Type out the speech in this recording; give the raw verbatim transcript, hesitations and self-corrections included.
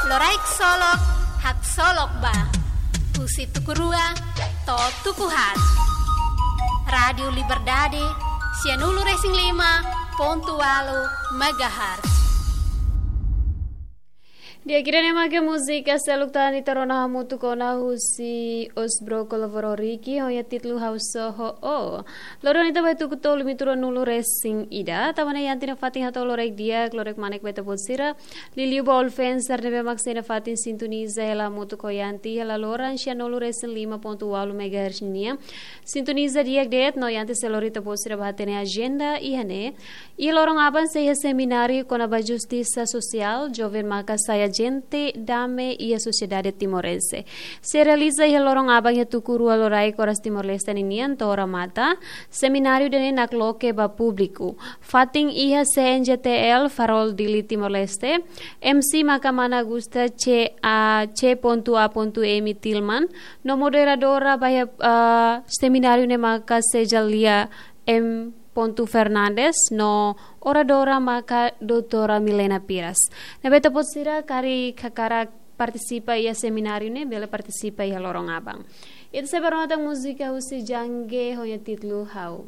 Loraik solok, haksolok ba. Husi tuku rua to'o tuku haat. Rádiu Liberdade, sianulu-resin-lima pontu ualu megahertz. Di'ak, ida-ne'e mak múzika seluk tan ita rona hamutuk ona husi Osbro Kolovoro Riki, ho nia títulu Ha'u Só ho Ó. Loron ita ba tuku tolu minutu ruanulu-resin-ida, tanba ne'e Yanti nia fatin hato'o loraik di'ak, loraik manek ba ita-boot sira. Liuliu ba influencer ne'ebé mak sei nafatin sintoniza hela hamutuk ho Yanti hela loron sianulu-resin-lima pontu ualu megahertz nian. Sintoniza di'ak de'it no Yanti sei lori ita-boot sira ba hatene ajenda iha ne'e. Iha loron aban sei iha semináriu kona-ba justisa sosiál, joven maka sai ajente dame iha sosiedade timorense. Sei realiza iha loron aban iha tuku rua loraik oras Timor-Leste ninian to'o remata. Semináriu ida-ne'e nakloke ba públiku. Fatin iha C N J T L Farol Dili Timor-Leste. M C maka mana Augusta C A C pontu A pontu M Tilman. No moderadora ba iha, ah, semináriu ne'e maka Sejalia M pontu Fernandes. No oradora maka Doutora Milena Piras. Ne'ebé ita-boot sira karik hakarak partisipa iha semináriu ne'e, bele partisipa iha loron aban. Ita sei ba rona tan múzika husi Jangge ho nia títulu Ha'u.